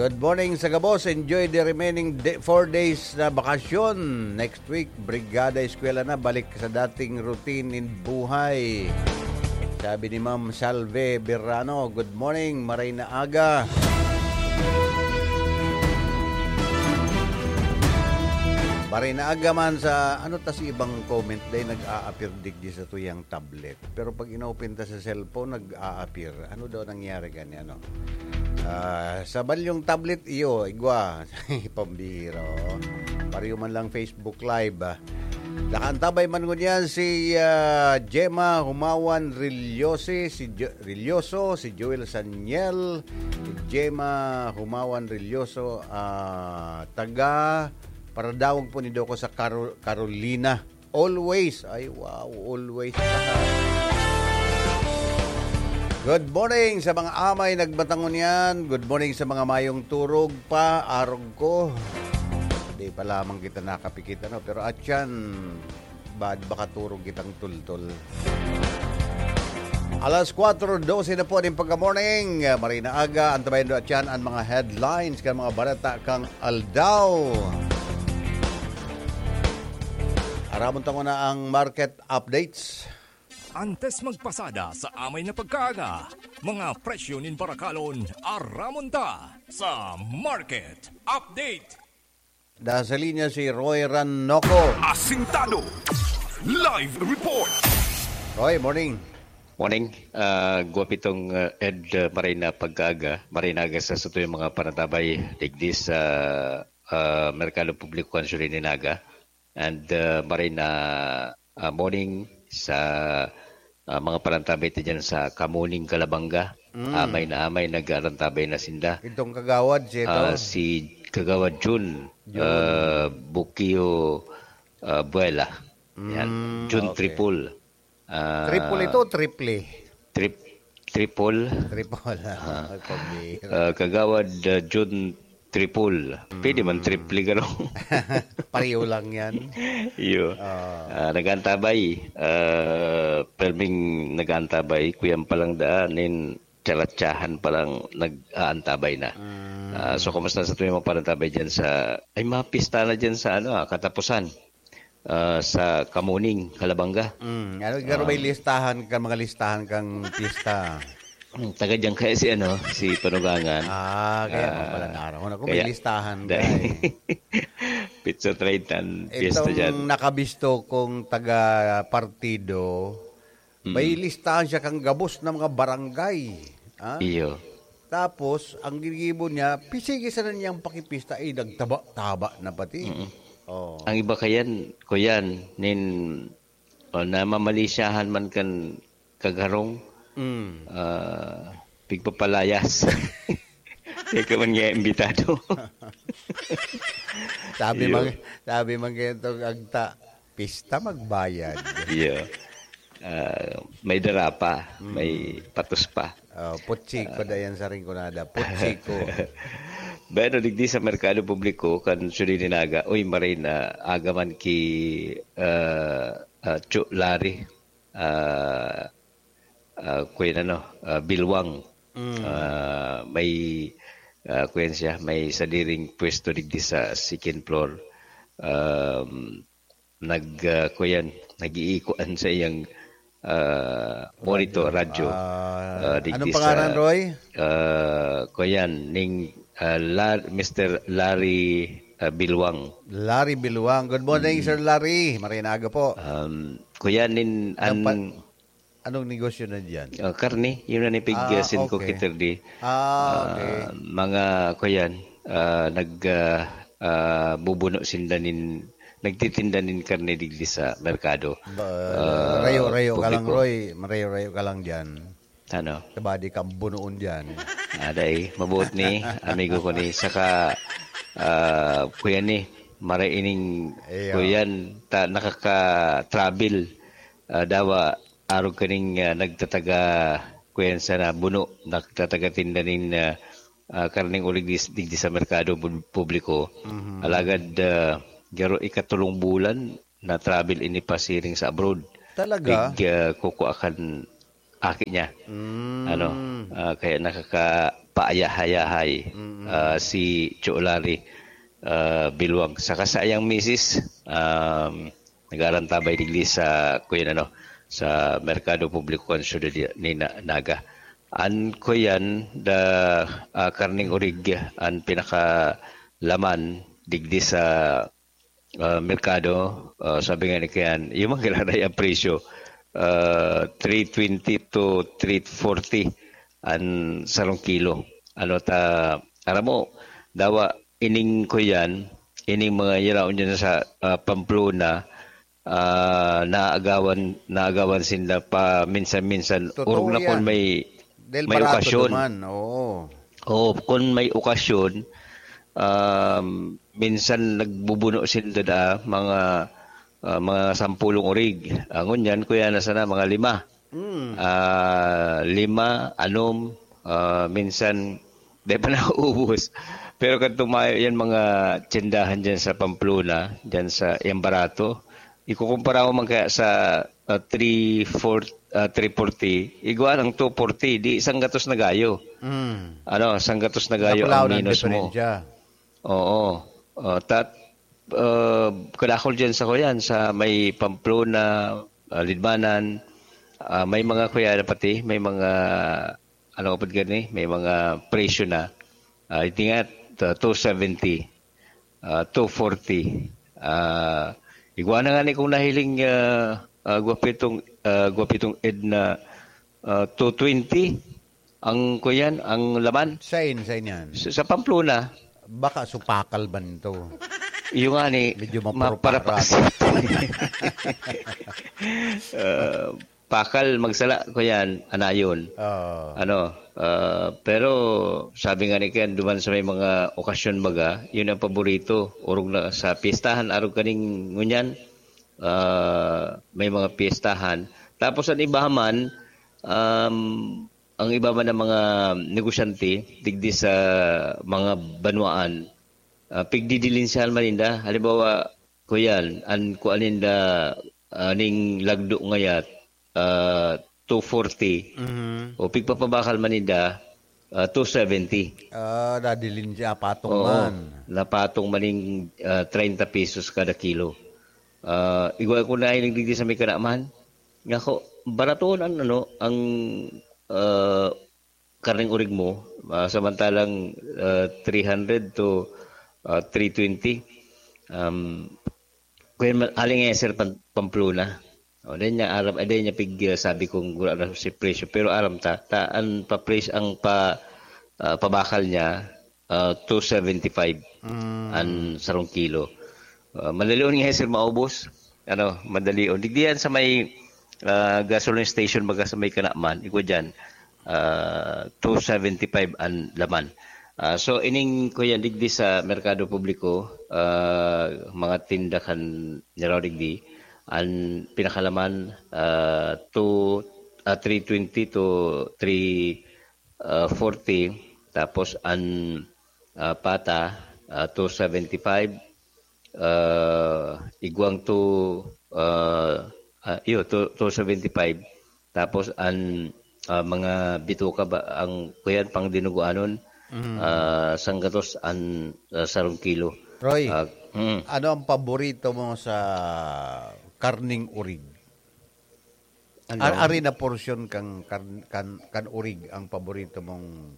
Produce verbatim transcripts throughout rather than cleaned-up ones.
Good morning sa gabos. Enjoy the remaining day, four days na bakasyon. Next week, Brigada Eskwela na. Balik sa dating routine in buhay. Sabi ni Ma'am Salve Berrano, "Good morning, maray na aga." Maray na aga man sa, ano ta si ibang comment, dahil nag-a-appear digdi sa tuyang tablet. Pero pag inopen ta sa cellphone, nag-a-appear. Ano daw nangyari gani, ano? Ah, sa balyong tablet, iyo, igwa. Pambihira, oh. Pareho man lang Facebook Live, ah. Nakaantabay man ngunyan si, ah, Gemma Humawan Rillosi, si Jo-, Rilloso, si Joel Saniel, Gemma Humawan Rilloso, ah, taga Paradawag po ni Doko sa Caro-, Carolina. Always. Ay, wow. Always. Good morning sa mga amay nagmatangon yan. Good morning sa mga mayong turog pa, arog ko. Di pa lamang kita nakapikit, ano. Pero atyan, bad baka turog kitang tultol. Alas kwatro dose na po nin pagka-morning. Maray na aga, antabayan do atyan an mga headlines kan mga bareta kan aldaw. Aramon ta nguna ang market updates. Antes magpasada sa amay na pagkaaga, mga presyo nin barakalon, aramon ta sa market update. Nasa linya si Roy Ranoco. Asintado. Live report. Roy, morning. Morning. Ah, guwapitong, ah, Ed, ah, maray na pagkaaga. Maray na aga sa satuyang mga panantabay digdi sa, ah, Merkado Publiko kan Siyudad nin Naga. And, ah, maray na, ah, morning sa, ah, mga panantabay ta dyan sa Kamuning, Calabanga. Mm. Amay na amay, nag-aantabay na sinda. Itong kagawad, si ito? Ah, si Kagawad Jun, Jun. Ah, Bukio, ah, Buela. Yan. Mm, Jun okay. Triple. Ah, Triple ito, triple? Trip-, triple. Triple, ah. Ah. Pambihira. Ah, Kagawad, ah, Jun Triple. Pwede man Mm. triple, garo. Pareho lang yan. Iyo. Ah. Ah, nag-aantabay. Ah, perming nag-aantabay. Kuyan pa lang daan, nin charatsahan pa lang nag-aantabay na. Mm. Ah, so, kumusta sa tuwing mga panantabay dyan sa, ay, mga pista na dyan sa, ano, ah, katapusan? Ah, sa Kamuning, Calabanga. Mm. Ano, garo may Um, listahan ka, mga listahan kang pista? Mm, taga dyan kaya si, ano, si Panugangan. Ah, kaya Ah, pala naaraw. Ako, may kaya, listahan ka dahil eh. Petsa treinta ang piyesta Itong dyan. Nakabisto kong taga partido, may Mm. listahan siya kang gabos na mga barangay. Ah? Iyo. Tapos, ang ginigibo niya, pisigi sana niyang pakipista, eh, nagtaba-taba na pati. Mm. Oh. Ang iba kayan, kuyan, nin, o, namamalisyahan man kan kagarong, Mm. ah, pigpapalayas. Kaya ka man nga imbitado. Sabi Iyo. man, sabi man kayo itong agta, pista magbayad. Iyo. Ah, may dara pa, may Mm. patos pa. Oh, putsiko Ah. da yan sa Rinconada. Putsiko. Bueno, digdi sa Merkado Publiko, kan Siyudad nin Naga, uy, maray na aga man ki, ah, ah, Chu Larry. Ah, ah, kuya na, no, ah, Bilwang. Mm. Ah, may, ah, kuya siya, may sadiring pwesto digdi sa second floor. Um, nag, ah, kuyan, nag-iikuan sa iyang, ah, monitor, Radyo. radyo. Ah, Ah, digdi anong pangalan, sa, Roy? ah, kuyan, ning, ah, Lar-, Mister Larry, ah, Bilwang. Larry Bilwang. Good morning, Mm. Sir Larry. Maray na aga po. Um, kuyan, nin, Dapat, an-, anong negosyo na diyan? Ah, karne, yun na ni pig, Ah, ah, sin ko okay. Kitirdi. Ah, okay. Ah, mga, kuyan, ah, nag, ah, ah, bubuno sinda nin, nagtitinda nin karne digdi sa merkado. Ba, Ah, rayo-rayo ka lang, publiko. Roy. Marayo-rayo ka lang diyan. Ano? Tabadi kang bunoon diyan. Ah, dai, mabuot ni, amigo ko ni. Saka, ah, kuya ni, maray ining Iya. kuyan, ta-, nakaka-travel. Ah, dawa, arog kaning, ah, nagtataga, kuyan sana, buno, nagtataga tinda nin, ah, ah, karneng ulig dis-, digdi sa merkado pub-, publiko. Mhm. Alagad, ah, garo ikatulong bulan na travel ini pasiring sa abroad. Talaga? Pig, ah, kukua kan aki niya. Mm. Ano, ah, kaya nakaka-, paayahay-ahay, Mm. ah, si Cho Larry, ah, Biluag. Saka sa iyang misis, um, nag-aarantabay digdi sa, kuyan, ano, sa Merkado Publiko kan siyudad ni Na-, Naga. An, kuyan, da, ah, karneng orig, an pinakalaman digdi sa, ah, merkado, ah, sabi nga ni kuyan, yung mga giraray ang presyo, ah, three twenty to three forty an sarong kilo. Ano ta, aram mo, dawa, ining kuyan, ining mga yaraon dyan sa, ah, Pamplona, ah, naagawan, naagawan sinda pa minsan-minsan. Totoo Orog na yan. Kung may, Dahil may barato okasyon. Naman, oo. Oo, kung may okasyon, um, minsan nagbubuno sinda da, mga, ah, mga sampulong orig. Ah, ngunyan, kuya, na sana mga lima. Mm. Ah, lima, anom, ah, minsan, di pa nauubos. Pero kan tumayo yan, mga tsindahan dyan sa Pamplona, dyan sa, yung barato, ikukumpara mo man kaya sa, ah, three forty, ah, three forty, igwa ng two forty, di isang gatos na gayo. Mm. Ano, isang gatos na gayo Kapulaw ang ng minus mo. Diferensya. Oo. Ah, tat-, ah, kadakol dyan sa kuyan, sa may Pamplona, ah, Lidmanan, ah, may mga kuya na pati, may mga, ano ka pud gani, may mga presyo na. Ah, iti nga, ah, two seventy, ah, two forty. Ah, igwa na nga ni kung nahiling, ah, ah, gwapitong, ah, gwapitong Ed na, ah, two twenty ang kuyan, ang laman. Sain, sain yan? Sa, sa Pamplona. Baka supakal man to. Yung nga ni, Medyo mapuro-paro. Maparapasit. Ah, pakal, magsala, kuyan, anayon. Oo. Ano, ah, pero sabi nga ni Ken, duman sa may mga okasyon baga, yun ang paborito. Orog na sa piestahan, arog kaning ngunyan, ah, may mga piestahan. Tapos ang iba man, um, ang iba man ng mga negosyante, digdi sa mga banwaan, ah, pigdidilinsyahan man ninda. Halimbawa, kuyan, an, kuan ninda, ah, ning lagdo ngayat, ah, two forty. Mhm. O pigpapabakal man ninda, ah, two seventy. Ah, dadilin siya, patong Oo, man. Napatong man ning, ah, treinta pesos kada kilo. Ah, igwa ko na ining digdi sa may kanaman. Nga ko, baraton ang, ano, ang, ah, karneng orig mo, ah, samantalang, ah, three hundred to, ah, three twenty. Um, kaya ma-, aling nga, Sir, Pam-, Pamplona. O, dahil niya aram, eh, dahil niya pig-, ah, sabi kong wala na si presyo. Pero aram ta, ta, ang pa-presyo, ang pa, ah, pabakal niya, ah, two seventy-five Mm. ang sarong kilo. Ah, madalion nga, Sir, maubos. Ano, madalion. Digdi yan sa may, ah, gasoline station, baga sa may Kanaman, igwa dyan, ah, two seventy-five ang laman. Ah, so, ining, kuya, digdi sa Merkado Publiko, ah, mga tinda kan Niraw digdi, ang pinakalaman, ah, two, ah, three twenty to three, ah, forty, tapos ang, ah, pata, ah, two seventy-five, ah, igwang two, ah, ah, iyo, two, two seventy-five. Tapos ang, ah, mga bituka ba, ang kuyan pang dinuguanon, Mm. ah, sanggatos ang, ah, sarong kilo. Roy, Ah, mm. Ano ang paborito mo sa karning urig? Ano? Ar-, ari na porsyon kang kan, kan, kan urig ang paborito mong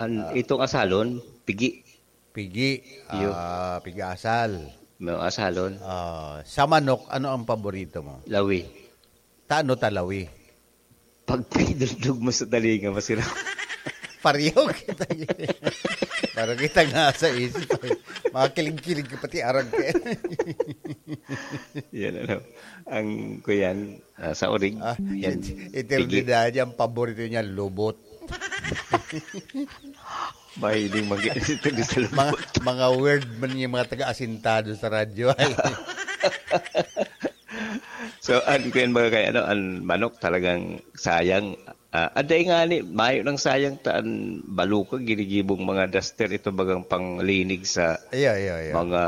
An, ah, itong asalon, pigi. Pigi, Iyo. ah, pigi asal. No, asalon. Ah, sa manok, ano ang paborito mo? Lawi. Tano ta lawi? Pag pinidugdog mo sa talinga, masira. Pareho kita. Parang kita nga sa isip. Mga kilig-kilig ka pati arag ka. Yan, ano. Ang, kuyan, ah, sa orig, Ah, yan. Eternidad, ang paborito niya, lubot. Mahiling mag-, ito di sa lubot. Mga, mga word man yung mga taga-asintado sa radyo ay. So, an, kuyan, mga kay, ano, ang manok talagang sayang. Ah, aday nga ni, mayo nang sayang ta an balukag, ginigibong mga duster, ito bagang panglinig sa Iya, iya, iya. mga,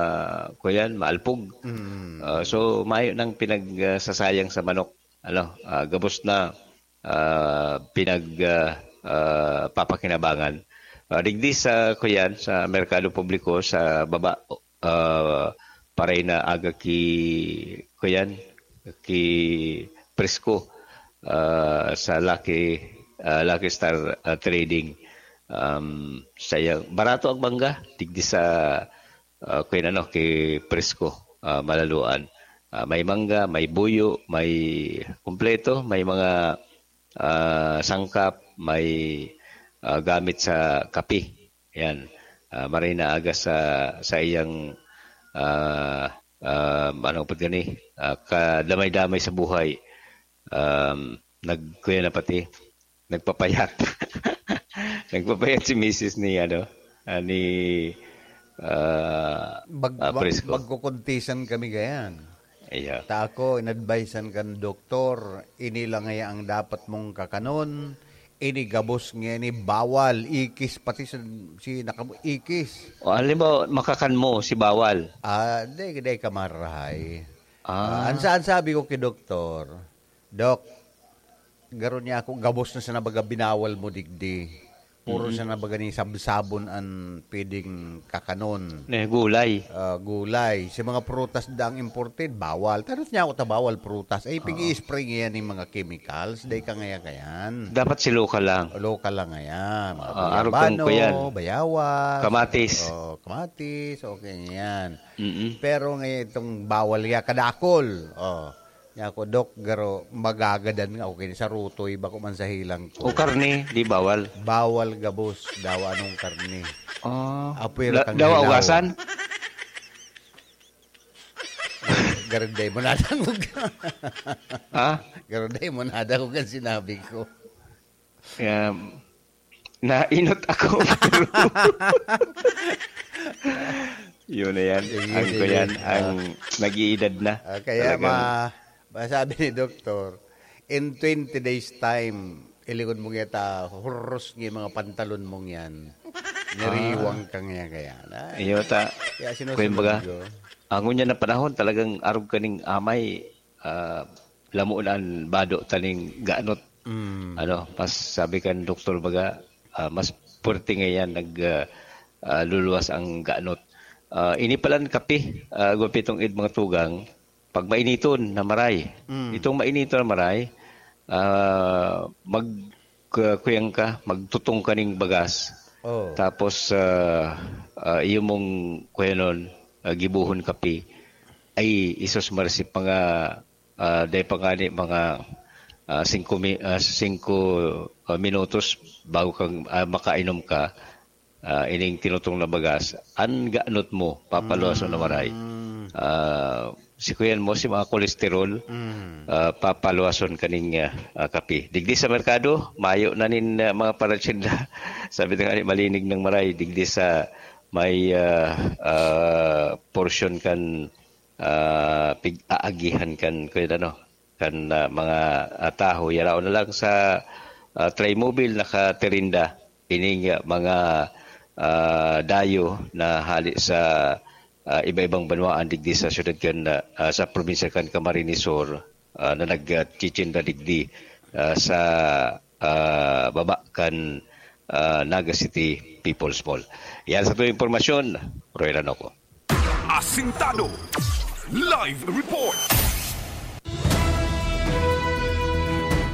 kuyan, maalpog. Mm. Ah, so, mayo nang pinag, ah, sasayang sa manok. Ano, ah, gabos na, ah, pinag, ah, ah, papakinabangan. Ah, digdi sa, kuyan, sa merkado publiko sa baba, ah, paray na aga ki, kuyan, ki presko, ah, sa Lucky, ah, Lucky Star, ah, Trading. Um, sayang, barato ang mangga, digdi sa, ah, kuyan, ano, ki presko, ah, malaluan. Ah, may mangga, may buyo, may kumpleto, may mga, ah, sangkap, may, ah, gamit sa kape. Yan. Ah, maray na aga sa, sa iyang, ah, ah, ano po gani, ah, kadamay-damay sa buhay. Um, nag-, kuya na pati, nagpapayat. Nagpapayat si misis ni, ano, ah, ni, ah, Mag-, ah, mag-, Prisco. Magkukuntisan kami gayan. Iya. Ta ako, inadvisean kan doktor, ini lang ngaya ang dapat mong kakanon, ini gabos nga ini bawal, ikis, pati sa, si nakam-, ikis. O, halimbawa, makakan mo si bawal. Ah, di, di ka marahay. Ah. Ah, ang sa-, ang sabi ko kay doktor, "Dok, garo niya ako, gabos na sana baga binawal mo digdi. Puro Mm. sana baga ni sabsabon an pwedeng kakanon." Ne, gulay. Ah, gulay. Si mga prutas daang imported, bawal. Tanot niya ako ta bawal prutas. Ay, Oo. pig-i-spray ngayon yung mga chemicals. Dahil ka ngaya kayan. Dapat si local lang. Local lang ngaya. Mga Ah, arog kang guyabano, kuyan. Bayawas. Kamatis. Oh, kamatis. Okay yan. Mm-mm. Pero ngayon itong bawal ya, kadakol. Oh. Niya ako, "Dok, garo, magagadan nga ako kini sa rutoy, bako man sa hilang ko." O karne, di bawal? Bawal gabos, dawa anong karne. Ah. Apoy La-, ra kang dawa hilaw. Ugasan? Garo, dai mo nadangog. Ha? Garo, dai mo nadangog ang sinabi ko. Kaya, nainot ako. Yun na yan. Yun Ang na ko yan, yan. Ang Ah. nag-iidad na. Ah, kaya Talagang ma-, masabi ni doktor, in twenty days time, ilingon mo nga ta, huros nga mga pantalon mong yan. Nariwang Ah. ka nga kaya. Na, Iyo ta. Kaya sinusunod Kuya, baga, ko. Ang ngunyan na panahon, talagang arog kaning amay, ah, lamo na an bado taning ganot. Mm. Ano, mas sabi kan doktor baga, ah, mas puwerte ngayan nag, ah, ah, luluwas ang ganot. Ah, ini palan kape, ah, gupitong id mga tugang, pag mainiton na maray. Mm. Itong mainiton na maray, ah, mag, ah, kuyang ka, magtutong ka ning bagas. Oh. Tapos, ah, ah, iyo mong kuyanon, ah, gibuhon kape. Ay, isos marsip mga ah, dai pa ngani mga, ah, singko mi-, ah, singko, ah, minutos bago kang, ah, makainom ka, ah, ining tinutong na bagas, an ganot mo, papaluwason na maray. Mm. Ah, si kuyan mo, si mga kolesterol, Mm. ah, papaluwason kaning, ah, ah, kape. Digdi sa merkado, mayo na nin, ah, mga paratsinda. Sabi na nga ni, malinig ng maray, digdi sa may, ah, ah, portion kan ah, pig-aagihan kan, kan ano, kan, ah, mga, ah, taho. Yaraon na lang sa, ah, Trimobile nakatirinda ining, ah, mga, ah, dayo na hali sa, ah, iba-ibang banwaan digdi sa syudad kan, ah, sa probinsya kan Camarines Sur, ah, na nagtitinda digdi, ah, sa, ah, baba kan, ah, Naga City People's Mall. Yan sa tuwing impormasyon, Roy Ranoco. Asintado. Live report.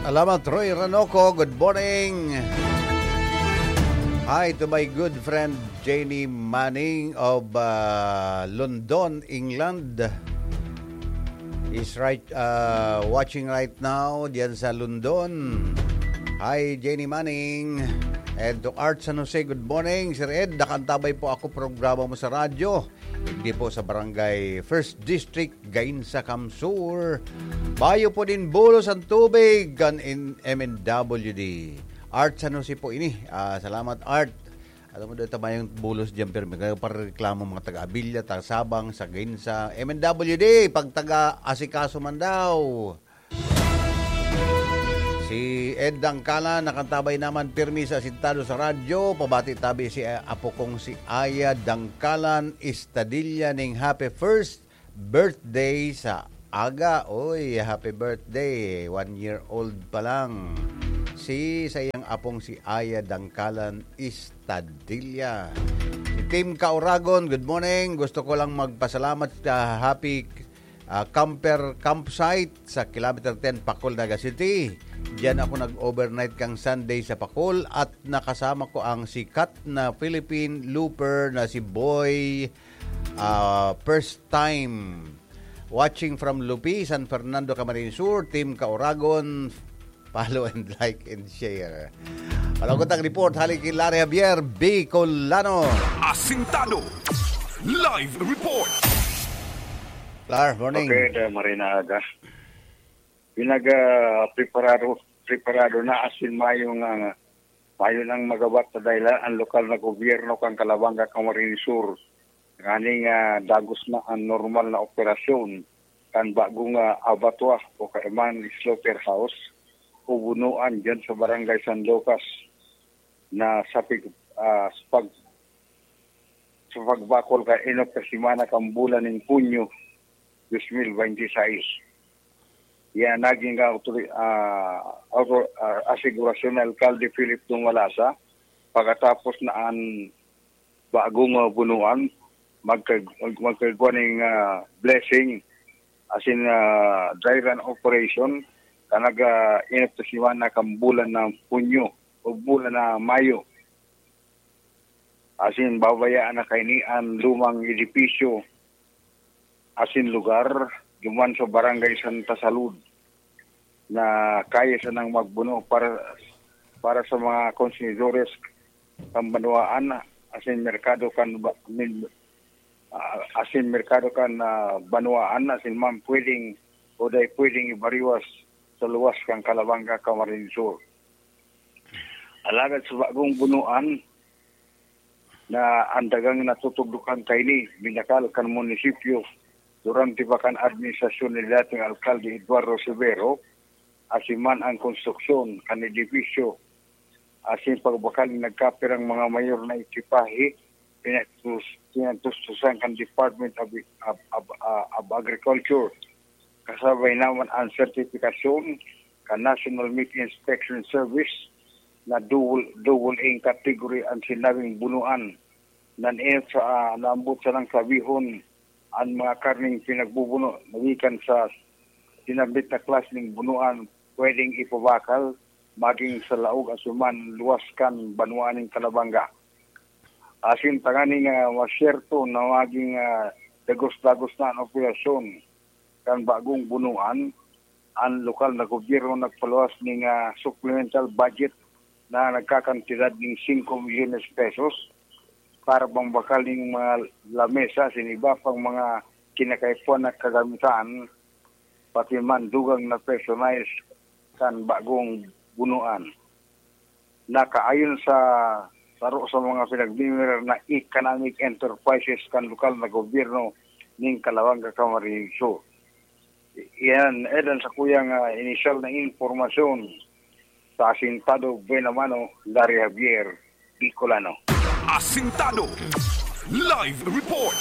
Alamat, Roy Ranoco. Good morning. Hi to my good friend Jenny Manning of, uh, London, England. Is right, uh, watching right now diyan sa London. Hi, Jenny Manning. And to Art San Jose, good morning. Sir Ed, nakantabay po ako programa mo sa radyo. Digdi po sa Barangay First District, Gainza, CamSur. Bayo po din bulos ang tubig kan in M N W D. Art San Jose po ini. Ah, salamat, Art. Alam mo, dito mayong bulos dyan, pero may pareklamo mga taga-Abilia, taga-Sabang, sa Gainza, M N W D, pag taga-asikaso man daw. Si Ed Dangkalan, nakantabay naman pirmi sa asintado sa radyo. Pabati tabi si, eh, apo kong si Aya Dangkalan Estadilla ning happy first birthday sa aga. Oy, happy birthday. One year old pa lang. si sa iyang apong si Aya Dangkalan Istadilla. Si Team Kauragon, good morning. Gusto ko lang magpasalamat sa Happy, ah, Camper Campsite sa Kilometer ten, Pacol, Naga City. Diyan ako nag-overnight kang Sunday sa Pacol at nakasama ko ang sikat na Philippine looper na si Boy, ah, first time. Watching from Lupi, San Fernando, Camarines Sur, Team Kauragon. Follow and like and share. Malagot ang report, hali ki Larry Javier, Bicolano. Asintado. Live report. Lar, morning. Okay, da, Marina Aga. Pinaga preparado, preparado na asin mayong, ah, mayo nang magabat sa dahilan ang lokal na gobyerno kan Calabanga, Camarines Sur. Nganing, ah, dagos na ang normal na operasyon kan bagong, ah, abattoir o kaiman slaughterhouse o bunuan diyan sa Barangay San Lucas na sa pig-, ah, sa pag-, sa pagbakol kan inot ka semana kan bulan nin Hunyo dos mil baynte sais. Yan naging autori-, ah, auto-, ah, asigurasyon ni Alkalde Philip Dumalasa pagkatapos na an bagong, ah, bunuan magka-, mag-, magkagwa ning, ah, blessing asin, ah, dry run operation kan naga-, inot na semana kan bulan na Hunyo o bulan na Mayo. Asin babayaan na kaini an lumang edipisyo asin lugar duman sa Barangay Santa Salud na kaya sanang magbuno para, para sa mga konsumidores kan banwaan asin merkado kan ba-, min-, ah, asin merkado kan, ah, banwaan asin man pwedeng o dai pwedeng ibariwas sa luwas kan Calabanga, Camarines Sur. Alagad sa bagong bunuan na an dagang natutugdokan kaini, binakal kan munisipyo durante pa kan administrasyon ni dating Alkalde Eduardo Severo, asin man ang konstruksyon kan edipisyo, asin pagbakal ni nagkapirang mga mayor na ekipahe, pinatus-, pinatustusan kan Department of, of, of, of Agriculture. Kasabay naman ang sertifikasyon kan National Meat Inspection Service na double, double A category ang sinabing bunuan. Nan-, sa, ah, naambot sanang sabihon, ang mga karneng pinagbubuno na gikan sa sinambit na klase ning bunuan pwedeng ipabakal maging sa laog asin man luwas kan banwaan nin Calabanga. Asin tanganing, ah, masyerto na maging, ah, dagos-dagos na an operasyon kan bagong bunuan, an lokal na gobyerno nagpaluwas ning, ah, supplemental budget na nagkakantidad ning singko milyones pesos para pambakal ning mga lamesa asin iba pang mga kinakaipuhan na kagamitan, pati man dugang na personahe kan bagong bunuan. Nakaayon sa saro sa mga pinagmimirar na economic enterprises kan lokal na gobyerno nin Calabanga, Camarines Sur. Iyan, Edan, sa kuyang, ah, inisyal na impormasyon sa Asintado Buena Mano, Larry Javier, Bicolano. Asintado Live Report.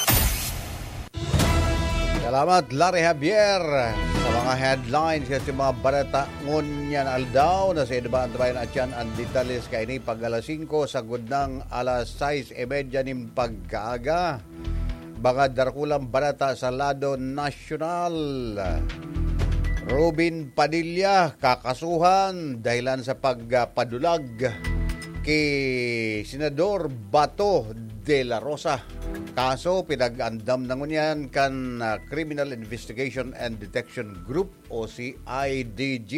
Salamat, Larry Javier, sa mga headlines kan mga bareta ngunyan aldaw. Nasa iba ang tabayan at yan ang detalles kaini pag alas singko, sagud nang alas sais y media nin pagkaaga. Mga darakulang bareta sa lado nasyonal. Robin Padilla kakasuhan dahilan sa pagpadulag ki Senador Bato de la Rosa. Kaso pinag-andam na ngunyan kan, ah, Criminal Investigation and Detection Group o si I D G.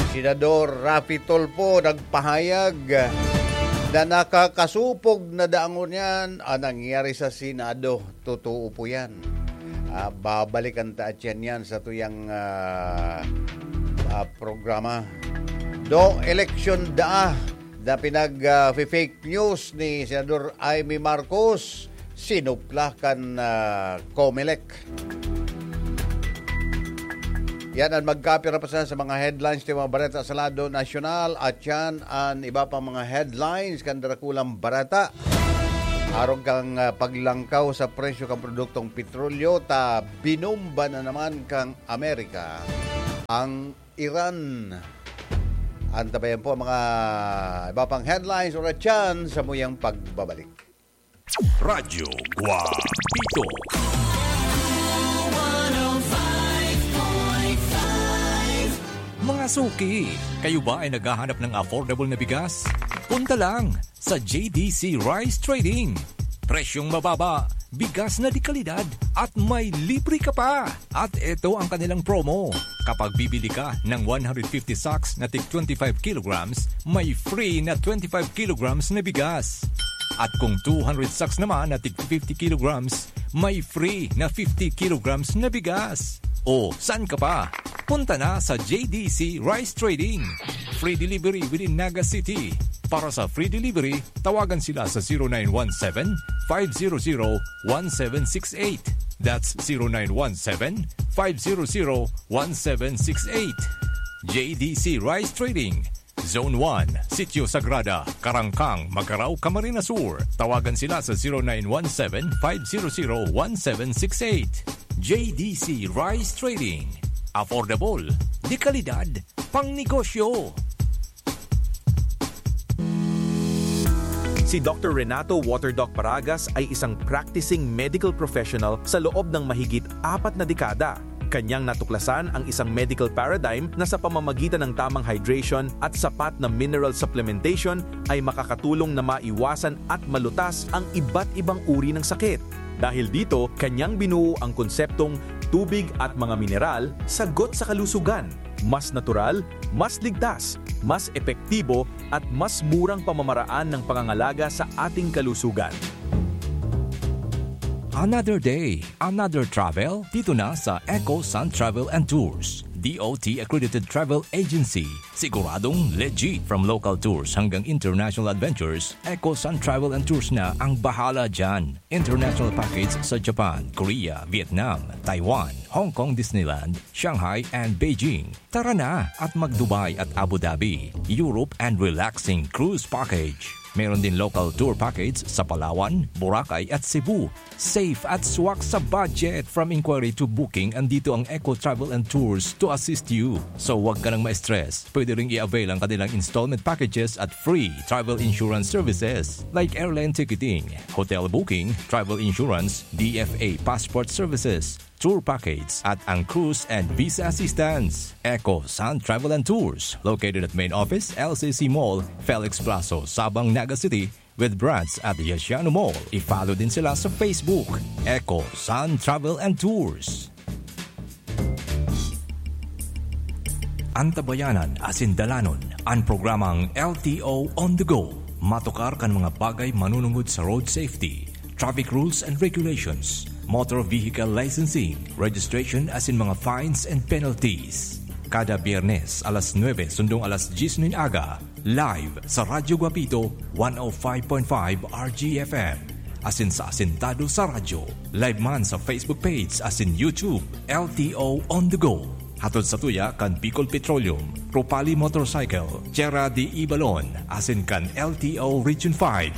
Senador Raffy Tulfo nagpahayag na nakakasupog na dangon yan ang nangyari sa Senado. Totoo po yan. Ah, babalikan ta at yan, yan sa tuyang, ah, ah, programa. Do election da na pinag, ah, fake news ni Senador Imee Marcos, sinupla kan, ah, Comelec. Yan ang magkapira pa sa, sa mga headlines ni mga bareta sa lado nasyonal at yan ang iba pang mga headlines kan darakulang bareta. Arog kang, ah, paglangkaw sa presyo kan produktong petrolyo, ta binomba na naman kan Amerika ang Iran. Antabayan po ang mga iba pang headlines ulit dyan sa muyang pagbabalik. Radyo Guapito. Mga suki, kayo ba ay naghahanap ng affordable na bigas? Punta lang sa J D C Rice Trading. Presyong mababa, bigas na de kalidad, at may libre ka pa. At ito ang kanilang promo. Kapag bibili ka ng one hundred fifty sacks na tig twenty-five kilograms, may free na twenty-five kilograms na bigas. At kung two hundred sacks naman na tig fifty kilograms, may free na fifty kilograms na bigas. O, saan ka pa? Punta na sa J D C Rice Trading. Free delivery within Naga City. Para sa free delivery, tawagan sila sa zero nine one seven, five zero zero, one seven six eight. That's zero nine one seven, five zero zero, one seven six eight. J D C Rice Trading, Zone one, Sitio Sagrada, Karangkang, Magarao, Camarines Sur. Tawagan sila sa zero nine one seven, five zero zero, one seven six eight. J D C Rice Trading. Affordable, de kalidad, pang negosyo. Si Doktor Renato Waterdoc Paragas ay isang practicing medical professional sa loob ng mahigit apat na dekada. Kanyang natuklasan ang isang medical paradigm na sa pamamagitan ng tamang hydration at sapat na mineral supplementation ay makakatulong na maiwasan at malutas ang iba't ibang uri ng sakit. Dahil dito, kanyang binuo ang konseptong tubig at mga mineral, sagot sa kalusugan. Mas natural, mas ligtas, mas epektibo, at mas murang pamamaraan ng pangangalaga sa ating kalusugan. Another day, another travel, dito na sa Eco Sun Travel and Tours, D O T accredited travel agency. Siguradong legit. From local tours hanggang international adventures, Eco Sun Travel and Tours na ang bahala dyan. International package sa Japan, Korea, Vietnam, Taiwan, Hong Kong Disneyland, Shanghai and Beijing. Tara na at mag-Dubai at Abu Dhabi, Europe and relaxing cruise package. Meron din local tour package sa Palawan, Boracay at Cebu. Safe at swak sa budget. From inquiry to booking, andito ang Eco Travel and Tours to assist you. So, wag ka nang ma-stress. Pwede ring i-avail ang kanilang installment packages at free travel insurance services like airline ticketing, hotel booking, travel insurance, D F A passport services, tour package, at ang cruise and visa assistance. Eco Sun Travel and Tours, located at main office, L C C Mall, Felix Plazo, Sabang, Naga City, with branch at Yasiano Mall. I-follow din sila sa Facebook, Eco Sun Travel and Tours. Antabayanan asin dalanon an programang L T O On The Go. Matukar kan mga bagay manunungod sa road safety, traffic rules and regulations, motor vehicle licensing, registration asin mga fines and penalties. Kada Biyernes, alas nuebe sundong alas dyes nin aga, live sa Radyo Guapito, one oh five point five R G F M. Asin sa Asintado sa Radyo. Live man sa Facebook page asin YouTube, L T O On The Go. Hatod sa tuya kan Bicol Petroleum, Ropali Motorcycle, Tierra de Ibalon, asin kan L T O Region five.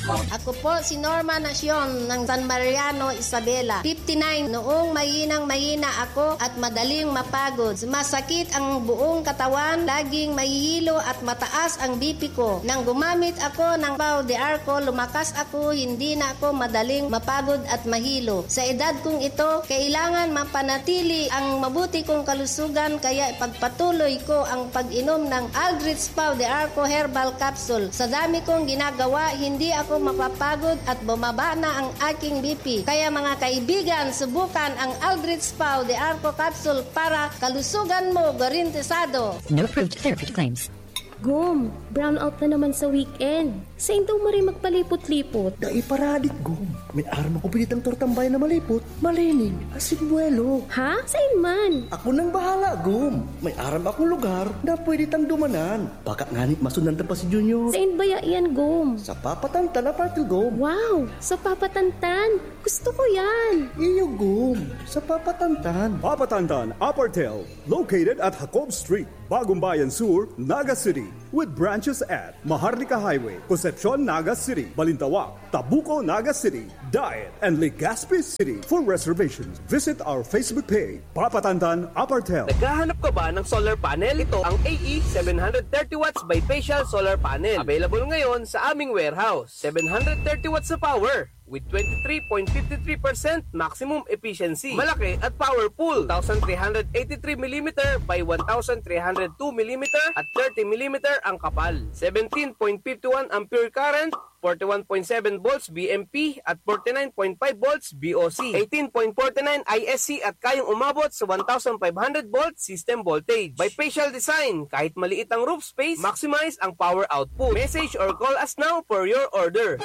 Ako po si Norma Nacion ng San Mariano, Isabela, fifty-nine. Noong mahinang mahina ako at madaling mapagod, sumasakit ang buong katawan, laging mahihilo at mataas ang B P ko. Nang gumamit ako ng Pau de Arco, lumakas ako, hindi na ako madaling mapagod at mahilo. Sa edad kong ito, kailangan mapanatili ang mabuti kong kalusugan, kaya ipagpatuloy ko ang pag-inom ng Aldrich Pau de Arco Herbal Capsule. Sa dami kong ginagawa, hindi ako mapapagod at bumaba na ang aking B P. Kaya, mga kaibigan, subukan ang Aldrich Pau de Arco Capsule para kalusugan mo garantisado. No approved therapy claims. Gum, brownout na naman sa weekend. Sain daw maray magpalipot-lipot? Dai paradit, Gom. May aram ako pinitang tortang bayan na malipot, malinig, asin buwelo. Ha? Sain man? Ako nang bahala, Gom. May aram akong lugar na pwede tang dumanan. Baka ngani masundan ta pa si Junior. Sain baya yan, Gom? Sa Papatantan, Apartel, Gom. Wow! Sa Papatantan? Gusto ko yan! Iyo, Gom. Sa Papatantan. Papatantan, Apartel, located at Jacob Street, Bagumbayan Sur, Naga City, with branches at Maharlika Highway, Concepcion, Naga City, Balintawak, Tabuco, Naga City, Daet, and Legazpi City. For reservations, visit our Facebook page, Papatantan Apartel. Naghahanap ka ba ng solar panel? Ito ang A E seven hundred thirty watts bifacial solar panel. Available ngayon sa aming warehouse. Seven hundred thirty watts na power with twenty-three point five three percent maximum efficiency. Malaki at powerful. Two thousand three hundred eighty-three millimeter by one thousand three hundred two millimeter at thirty millimeter ang kapal. Seventeen point five one ampere current, forty-one point seven volts V M P at forty-nine point five volts V O C, eighteen point forty-nine I S C at kayang umabot sa one thousand five hundred volt system voltage. Bifacial design, kahit maliit ang roof space, maximize ang power output. Message or call us now for your order.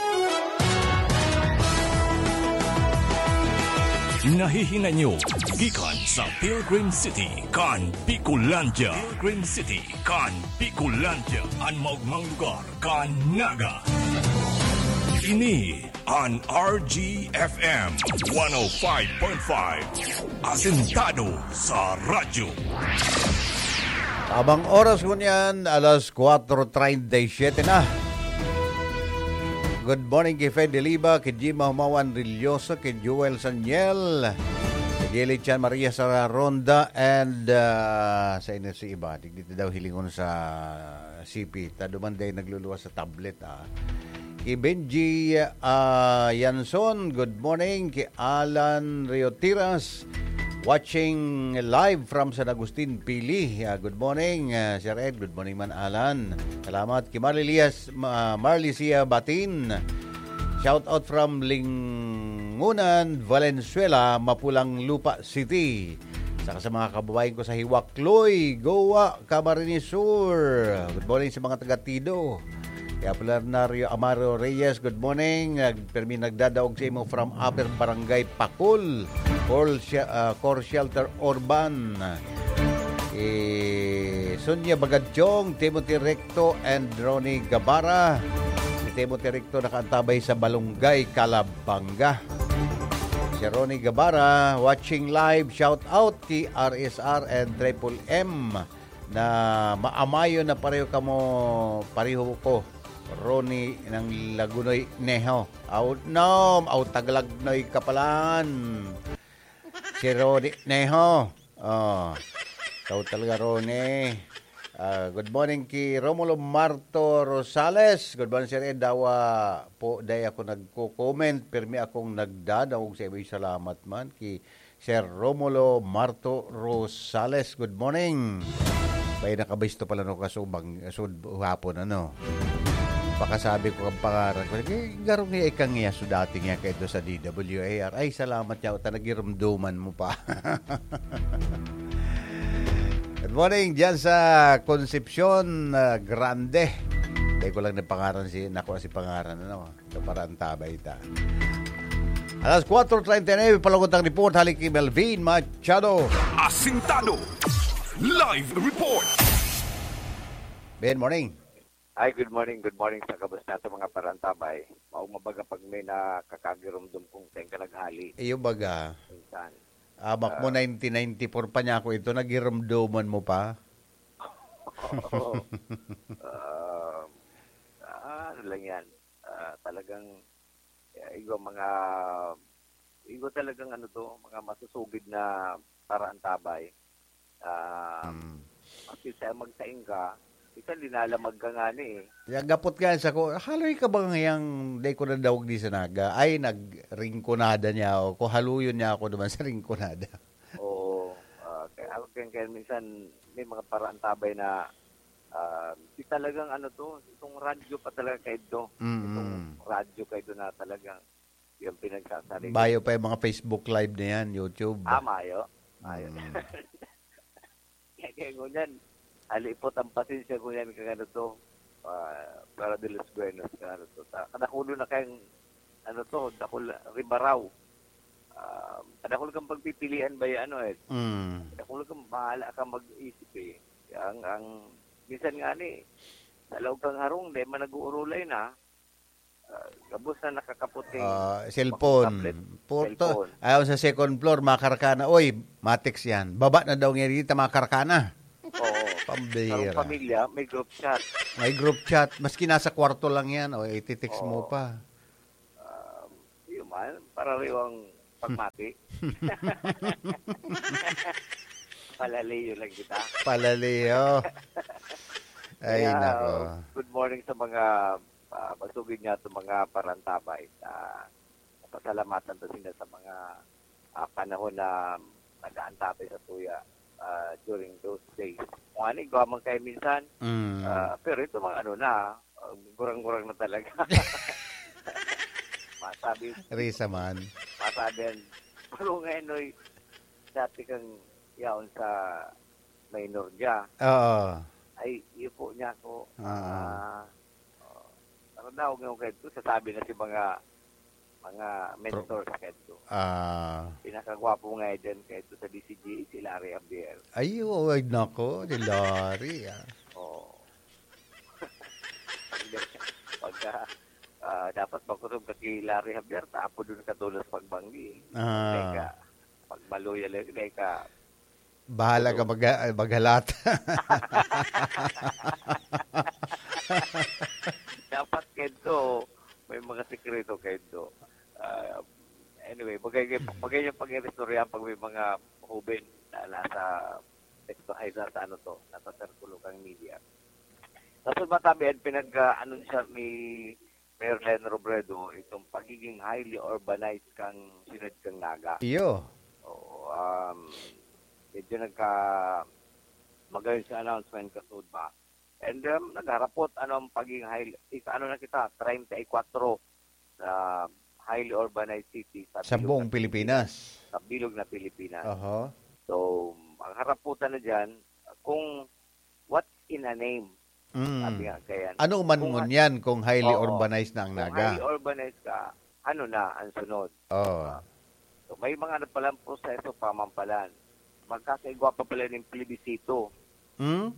Nahihinay nyo gikan sa Pilgrim City kan Bicolandia. Pilgrim City kan Bicolandia, an maogmang lugar kan Naga. Ini an R G F M one oh five point five, asentado sa radyo. Tamang oras ngunyan, alas kwatro treinta y siete na. Good morning ki Fede Liba, ki Jima Humawan Rilloso, ki Joel Saniel, ki Gilly Chan Maria Sara Ronda, and, ah, sa inyo si iba, digdi daw hilingon sa C P, ta duman day nagluluwas sa tablet, ah. Ki Benji, ah, Yanson, good morning. Ki Alan Riotiras, watching live from San Agustin, Pili. Ah, good morning, ah, Sir Ed. Good morning man, Alan. Salamat. Ki Marley Lias, Ma-, Marley Sia Batin. Shout out from Lingunan, Valenzuela, Mapulang Lupa City. Saka sa mga kababayan ko sa Hiwakloy, Goa, Camarines Sur. Good morning sa mga taga Tido. Kaya Bernardo Amaro Reyes, good morning. Nag-, permi nagdadaog sa imo from Upper Barangay Pakul, Cor-, ah, Core Shelter Urban. Eh, Sonia Bagadjong, Timothy Recto, and Ronnie Gabara. Si Timothy Recto nakaantabay sa Balunggay, Calabanga. Si Ronnie Gabara, watching live, shout out ki R S R and Triple M na maamayon na pareho kamo, pareho ko, Ronnie ng Lagunoy Neho. Out nom, out Taglagnoy Kapalan. Si Ronnie Neho. Oh. Ikaw talaga, Ronnie. Ah, good morning ki Romulo Marto Rosales. Good morning, Sir Ed. Dawa po, day ako nagko-comment. Pirmi akong nagdadaog sa iyo. Salamat man ki Sir Romulo Marto Rosales. Good morning. Bay, nakabisto pala no kasubang, sud-, hapon, ano? Pakasabi ko ang pangaran ko. Eh, garong niya ikang niya, so dati niya kayo sa D W A R. Ay, salamat niya. Ta nagirumduman mo pa. Good morning, dyan sa Concepcion, ah, Grande. Hindi ko lang na pangaran si, nakuha si pangaran, ano? Ito para ang tabay ta. Alas kwatro treinta y nueve, palugod ang report, halik kay Melvin Machado. Asintado. Live report. Ben, morning. Hi, good morning, good morning sa kabasta sa mga parantabay. Maong mabaga pag may nakakagirumdum kung saan ka naghali. Iyo baga. Minsan. Abak mo, Ah. nineteen ninety-four pa niya ako ito, nagirumduman mo pa? Oo. Ah, ah, ano lang yan. Ah, talagang, eh, igo mga, igo talagang ano to, mga masusugid na parantabay. Ah, Mm. Kasi sa magsaing ka, minsan linalamag ka nga ni eh. Kaya gapot nga sa ko, haloy ka ba ngayang day ko nadawag di sa Naga? Ay, nagringkonada niya ako. Kung haluyon niya ako naman sa ringkonada. Oo. Ah, kaya, kaya, kaya minsan may mga parantabay na, ah, di talagang ano to, itong radyo pa talaga kayo. Mm. Itong radyo kayo na talagang yung pinagsasarili. Bayo pa yung mga Facebook Live na yan, YouTube. Ah, mayo. Mayo. Mm. Kaya, kaya ngunyan, halipot ang pasensya ngunyan kang ano to. ah, para de los buenos nga ano to. Ta-, kadakulo na kayang, ano to, dakul, ribaraw. Ah, kadakul kang pagpipilian ba yung ano eh. Mm. Kadakul kang bahala kang mag-isip eh. Ang, ang, minsan nga ni, sa laog kang harong, di man nag-uurulay na. Ah, gabos na nakakaputing Ah, cellphone. tablet, Porto, cellphone. Ayaw sa second floor, makarkana. Oy, matext yan. Baba na daw ngayon dito, makarkana. Oo. Pambira. Sarong pamilya, may group chat. May group chat. Maski nasa kwarto lang yan, o ititext mo Oo. pa. Um, yun man, parariwang pagmati. Palalayo lang kita. Palalayo. Ay, Kaya, nako. Good morning sa mga, ah, masugid nga itong mga parantabay. Ah, pasalamatan to sila sa mga, ah, panahon na nag-aantabay sa tuya, ah, during those days. Kung ano, gawa man kayo minsan, Mm. ah, pero ito mga ano na, ah, gurang-gurang na talaga. Masabi, Risa man. masabi yan. Pero ngayon, oy, dati kang yaon sa minor niya. Oo. Ay, iyo po niya ako. Oo. Ah, oh, ano daw, ngayon kayo ito, sasabi na si mga, mga Pro- mentors kayo ito. Ah. Pinakagwapo nga dyan kayo ito sa D C G, si Larry Javier. Ay, oh, ay, nako, si Larry, ah. Oo. Pagka, ah, dapat makusog ka kay Larry Javier, tapo dun ka tulos pagbanggi. Ah. Teka, pag maluya lang, teka. Bahala ka Ano? mag-, maghalat. Dapat kento, may mga sikreto kento. Ah, anyway, bagay, bagay yung pag-iristorya pag may mga hoben na nasa, ay, nasa ano to, nasa sirkulo kang media. Sa matabi, pinag-anunsya ni Mayor Leni Robredo itong pagiging highly urbanized kang siyudad kang Naga. Iyo. Oo, um, medyo nagka-, magayon sa announcement kasud ba? And, um, nagharapot, ano, ang pagiging highly, ika-, ano na kita, treinta y cuatro na highly urbanized city sa Sa bilog buong na Pilipinas. Pilipinas. Sa bilog na Pilipinas. Aha. So, ang haraputan na dyan, kung what's in a name, Mm. sabi nga kaya, Ano man kung ngunyan kung highly Oo. urbanized na ang Kung Naga? highly urbanized ka, ano na ang sunod? Oo. Ah, so, may mga ano palang proseso pa man pala. Magkakaigwa pa pala ng plebisito. Hmm?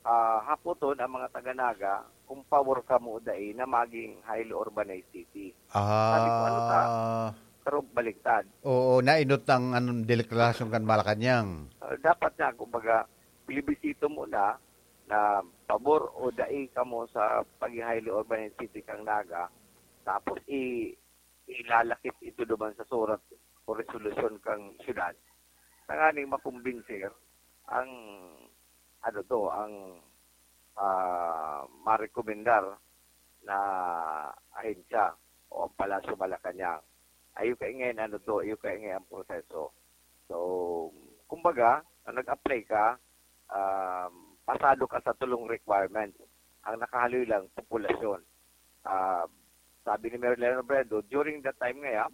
Ah, hapoton ang mga taga-Naga kung pabor kamo o dai na maging highly urbanized city. Sabi ko, "Ano ta?" Ah. Pero baliktad. Oo, nainot ang, anong, deklarasyon kan Malacañang. Ah, dapat nga, kumbaga, plebisito muna na pabor o dai kamo sa pagiging highly urbanized city kang Naga, tapos i-, ilalakip ito duman sa surat o resolusyon kang syudad. Tanganing makumbinser ang, ano to, ang, ah, marekomendar na ahensya o ang Palasyo Malacañang. Ayo kay ngayon, ano to, ayo kay ngayon ang proseso. So, kumbaga, nung nag-apply ka, um, pasado ka sa tulong requirements. Ang nakahaloy lang, populasyon. Ah, sabi ni Mayor Leni Robredo, during that time nga yan,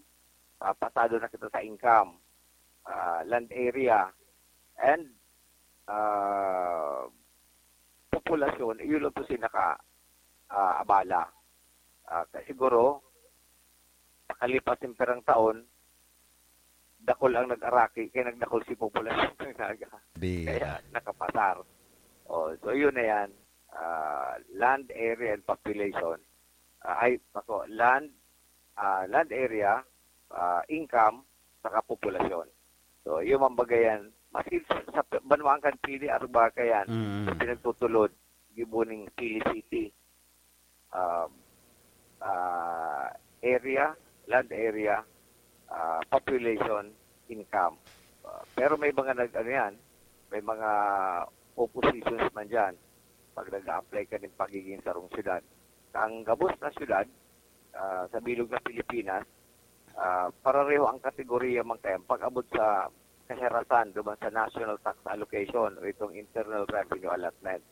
ah, pasado na kita sa income, ah, land area, and, ah, populasyon, iyo lang to si naka, ah, abala. Ah, kaya siguro, pakalipas yung pirang taon, dakul ang nag-araki, kaya nagdakul si populasyon ng Naga. Bira. Kaya nakapasar. Oh, so yun na yan. Ah, land area and population. Ah, ay, ako, land, ah, land area, ah, income, saka populasyon. So, yun ang bagay yan. Maski sa, sa banwaan kan Pili, Arubaca yan, Mm. sa pinagtutulod, gibo ning Pili City. Um, ah, area, land area, ah, population, income. Ah, pero may mga nag-, ano yan, may mga oppositions man dyan pag nag-a-apply ka ng pagiging sarong syudad. Ang gabos na syudad, ah, sa bilog na Pilipinas, ah, parareho ang kategorya man kaya pag-abot sa kaherasan duman sa national tax allocation o itong internal revenue allotment.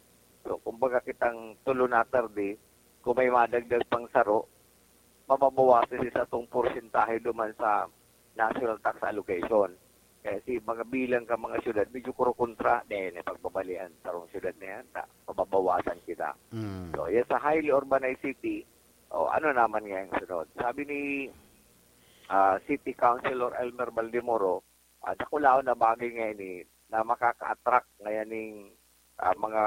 So, kumbaga kitang tulo na tarde, kung may madagdag pang saro, mababawasan sa itong porsentahe duman sa national tax allocation. Kaya si mga bilang ka mga syudad, medyo kurukontra din, eh, pagbabalian, sarong syudad na yan, ta, pababawasan kita. Mm. So, yan sa highly urbanized city, o ano naman ngayang sunod? Sabi ni, ah, City Councilor Elmer Baldemoro, ah, dakulaon na bagay ngayon eh, na makaka-attract ngayon ning, ah, mga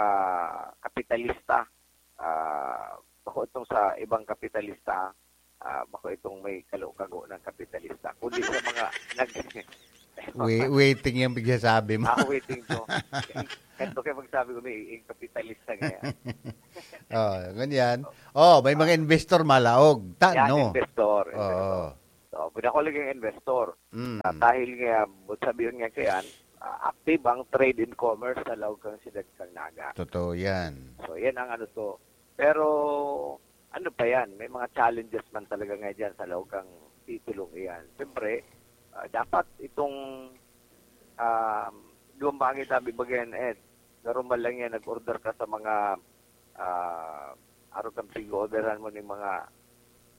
kapitalista. Ah, bako itong sa ibang kapitalista, ah, bako itong may kalukago ng kapitalista. Kundi sa mga nag-, Wai-, waiting yung pagsasabi mo. Ah, waiting to. Ito kayo magsabi ko, may yung kapitalista ngayon. Oh, ganyan. Oh, may mga investor malaog. Tan, Yan, no? investor. Oo. So, pinakulagang investor. Mm. Ah, dahil nga, but sabi yun nga kayan, ah, active ang trade and commerce sa laog kang siyudad kang Naga. Totoo yan. So, yan ang ano to. Pero, ano pa yan? May mga challenges man talaga nga dyan sa laog kang titulong iyan. Siyempre, ah, dapat itong um, duwang bagay sabi bagayan, Ed. Normal lang yan, nag-order ka sa mga ah, araw kang pig-orderan mo ng mga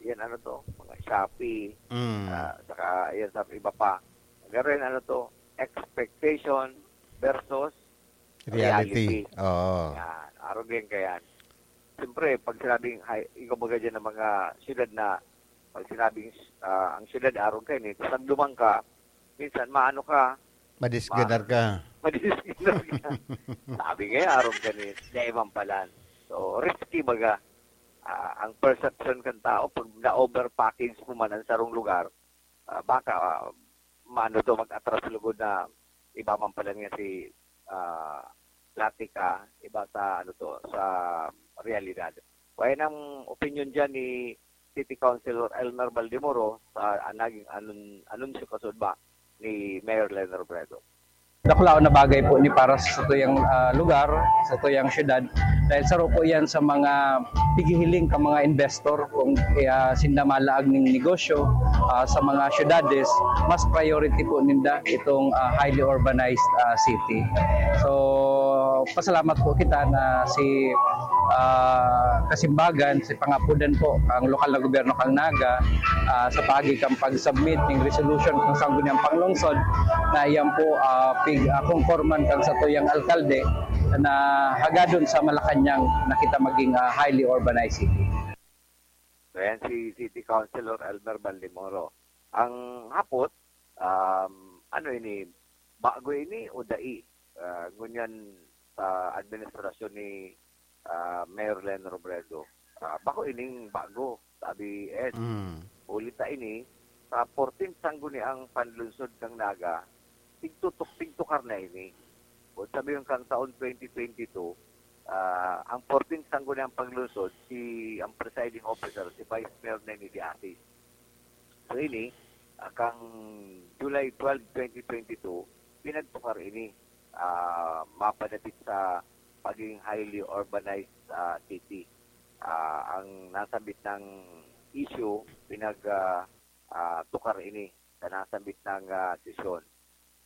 yan, ano to, mga Shopee, Mm. ah, saka yan sa iba pa. Garo yan, ano to, expectation versus Reality. reality. Oo. Yan, arog yan ka yan. Siyempre, pag sinabing, hay, ikaw baga dyan ng mga syudad na, pag sinabing ah, ang syudad arog ka, eh, tapos nagdumang ka, minsan maano ka, Madisganar ka. Madisganar ka. Sabi nga, arog ka ni Daiman palan. So, risky baga. Ah, ang perception kan tao, pag na-over package mo man ang sarong lugar, ah, baka ah, maano to, mag-atras lugod na iba man pala nga si ah, platika, iba sa ano to, sa realidad. Kaya ang opinion dyan ni City Councilor Elmer Baldemoro sa ah, naging anun- anunsyo kasud ba ni Mayor Len Robredo. Dakulaon na bagay po ni para sa tuyang ah, lugar, sa tuyang syudad. Dahil saro po yan sa mga pigihiling ka mga investor kung ah, sinda malaag ning negosyo ah, sa mga syudades, mas priority po ninda itong ah, highly urbanized ah, city. So, pasalamat po kita na si ah, Kasimbagan, si pangapudan po ang lokal na gobyerno kang Naga ah, sa paagi kang pag-submit ng resolution kung sangguniang panglungsod na iyan po ah, pig ah, kongkorman kang sa tuyang alkalde na hagadon sa Malacañang na kita maging ah, highly urbanized city. So, yan si City Councilor Elmer Baldemoro. Ang hapot, um, ano ini, bago ini o dai? Ah, ngunyan sa administrasyon ni ah, Mayor Len Robredo. Ah, bako ining bago, sabi Ed. Mm. Huli ta ini, sa fourteenth sangguniang panlungsod kang Naga, tigtutok, tigtukar na ini. O sabi yung kang taon twenty twenty-two, ah, ang fourteenth sangguniang panlungsod, si, ang presiding officer, si Vice Mayor Neni de Asis. So ini, ah, kang July twelve, twenty twenty-two, pinagtukar ini, ah, mapadapit sa pagiging highly urbanized ah, city. Ah, ang nasambit ng issue, pinag ah, ah, tukar ini sa nasambit ng ah, sesyon.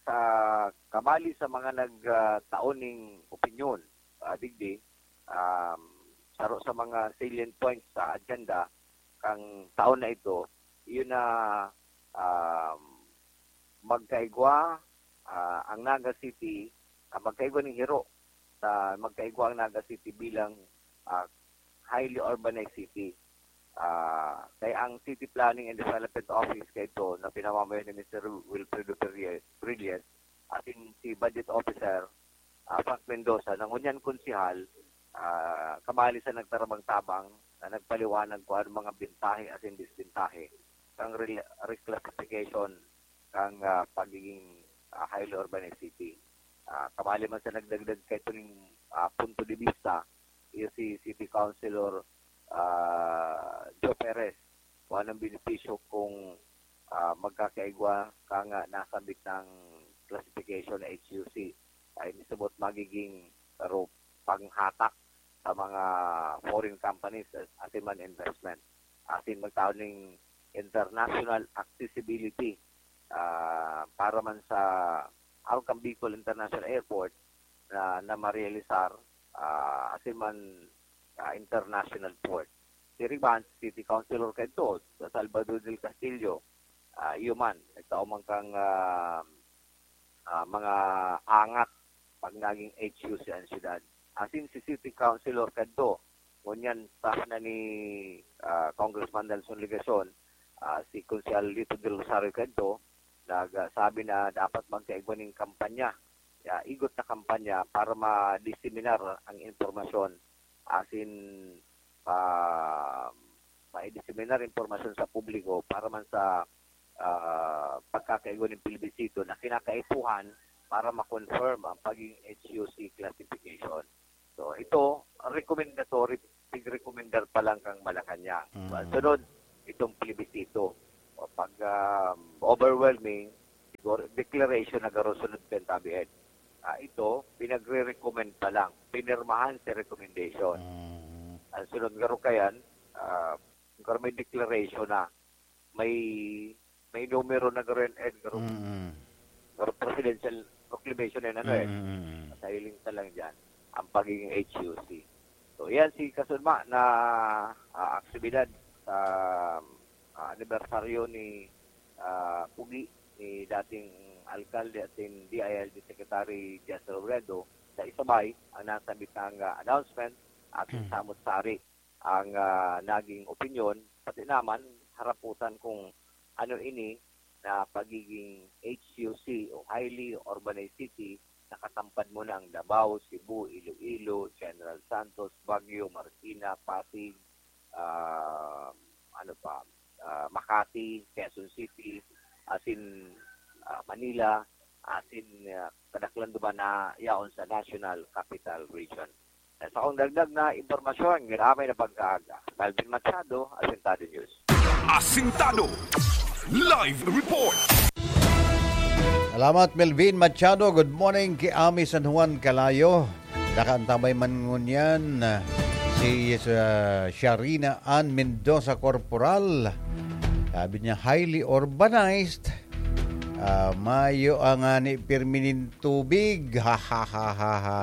Sa kabali sa mga nagtaon ning opinyon, ah, digdi, um, saro sa mga salient points sa agenda kang taon na ito, yun na um, magkaigwa ah, ang Naga City, ah, magkaigwa ning hiro sa magkaigwa ang Naga City bilang ah, highly urbanized city. Ah, kaya ang City Planning and Development Office kaito na pinamamayo ni Mister Wilfredo Brillas, Brillas, asin si Budget Officer ah, Frank Mendoza, na ngunyan konsehal, ah, kamali sa nagtarabang-tabang na nagpaliwanag kung ano mga bentahe asin disbentahe kang re- reclassification kang ah, pagiging ah, highly urbanized city. Ah, kamali man sa nagdagdag kaito ning ah, punto de vista, iyo si City Councilor ah, Joe Perez, kung anong benepisyo kung ah, magkakaigwa kang ah, nasambit ng classification na H U C. Ay, mismot magiging ro panghatak sa mga foreign companies as, asin man investment. Asin magtao ning international accessibility ah, para man sa arog kang Bicol International Airport na, na marealisar ah, asin man ah, international port. Si Riban, City Councilor kaito, sa Salvador del Castillo, ah, iyo man, nagtao man kang ah, ah, mga angat pag naging H U C ang syudad. Asin si City Councilor kadto, ngunyan staff na ni, ah, Congressman Nelson Legacion, ah, si Konsehal Lito Del Rosario kadto, nagsabi na dapat magkaigwa ning kampanya, ya, igot na kampanya para ma-disseminar ang impormasyon. Asin, ah, ma-disseminar impormasyon sa publiko para man sa, ah, pagkakaigwa ning plebisito na kinakaipuhan para ma-confirm ang pagiging H U C classification. So, ito, recommendatory, tig-recommendar pa lang kang Malacañang. Mm. Sunod, itong plebisito. O pag, um, overwhelming, siguro, declaration na garo sunod kan tabi, Ed. Ah, ito, pinagre-recommend pa lang. Pinirmahan sa recommendation. Mm. Ang sunod garo kayan, ah, garo may declaration na. May, may numero na garo yan, Ed, garo. Mm. Garo presidential proclamation yan, ano, eh. Mm. Sa hiling ta lang dyan, ang pagiging H U C. So, yan si Kasunma na, ah, aktibidad sa, ah, anibersaryo ni, ah, Pugi, ni dating alkalde at ni D I L G Secretary Jess Robredo sa Isabay, ang nasabitang, ah, announcement at Hmm. samot-sari ang, ah, naging opinyon, pati naman haraputan kung ano ini na pagiging H U C o highly urbanized city, nakatampad mo na ang Davao, Cebu, Iloilo, General Santos, Baguio, Marikina, Pasig, ah, ano pa, ah, Makati, Quezon City, asin, ah, Manila, asin, ah, kadaklan duman na yaon sa National Capital Region. Sa akong dagdag na impormasyon, ngani na pag-aaga. Melvin Machado, Asintado News. Asintado Live Report. Salamat, Melvin Machado. Good morning ki Ami San Juan Calayo. Nakaantabay man ngunyan, ah, si, ah, Sharina Ann Mendoza Corporal. Sabi niya, "Highly urbanized. Ah, mayo ang ani pirmi nin tubig." Ha, ha, ha, ha, ha.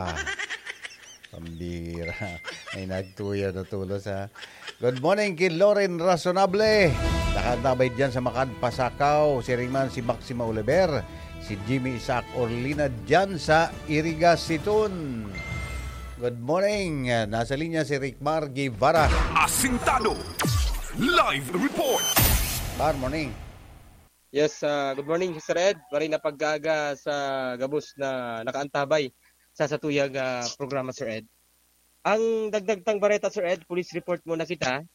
Pambira. May nagtuyaw na tulos, ha? Good morning ki Loren Razonable. Nakaantabay diyan sa Makad, Pasacao. Siring man si Maxima Oliver, si Jimmy Isaac Orlina diyan sa Iriga, Siton. Good morning. Nasa linya si Rickmar Guevara. Asintado Live Report. Good morning. Yes, ah, good morning, Sir Ed. Maray na pag-aaga sa gabos na nakaantabay sa satuyang, ah, programa, Sir Ed. Ang dagdag tang bareta, Sir Ed, police report muna kita.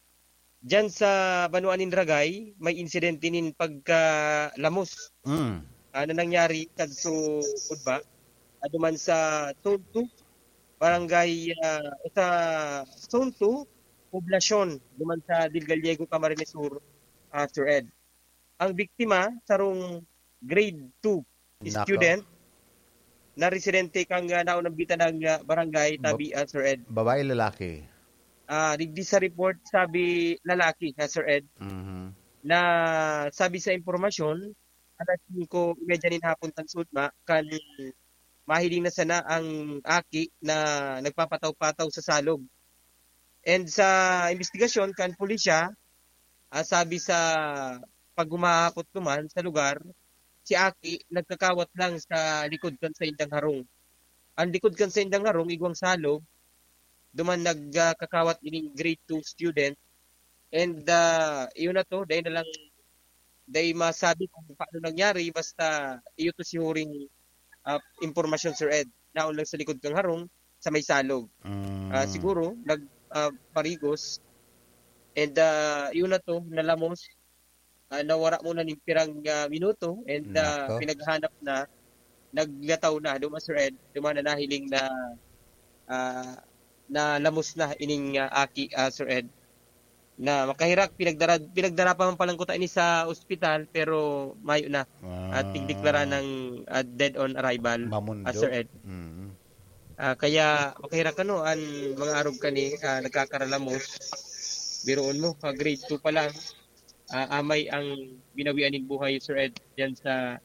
Diyan sa banwaan nin Ragay, may insidente nin pagkalamos, Mm. ah, na nangyari kadto Budba, ah, duman sa Zone two, barangay, ah, sa Zone two, poblasyon, duman sa Del Gallego, Camarines Sur, ah, Sir Ed. Ang biktima, sarong grade two Nako. student na residente kan, ah, naunambitan na, ah, barangay, Ba-, tabi, ah, Sir Ed. Babae, lalaki? Ah, digdi sa report, sabi lalaki, ah, Sir Ed. Mhm. Na sabi sa impormasyon, alas singko y medya nin hapon kan sudma, kan mahiling na sana ang aki na nagpapataw-pataw sa salog. And sa imbestigasyon kan pulisya, ah, sabi sa paghumahapot duman sa lugar, si aki nagkakawat lang sa likod kan saindang harong. Ang likod kan saindang harong, igwang salog, duman nagkakawat ining grade two student. And, ah, yun na to, dai na lang, dai masabi kung paano nangyari, basta iyo to si huring, ah, impormasyon, Sir Ed. Naon lang sa likod kang harong, sa may salog. Mm. Ah, siguro, nag, ah, parigos. And, ah, yun na to, nalamos. Ah, nawara muna ning pirang, ah, minuto. And, ah, Nako. pinaghanap na, naglataw na, duman, Sir Ed, duman na nahiling na, ah, na lamos na ining, ah, aki, ah, Sir Ed. Na makaherak, pinagdara-, pinagdara pa man palan kuta ini sa ospital, pero mayo na. At Ah. tigdeklara ng, ah, dead on arrival, Mamundo. ah, Sir Ed. Mm. Ah, kaya makaherak ano, ang mga arog kani, ah, nagkakaralamos. Biruon mo, ah, grade two pa lang, ah, amay ang binawian nin buhay, Sir Ed, diyan sa,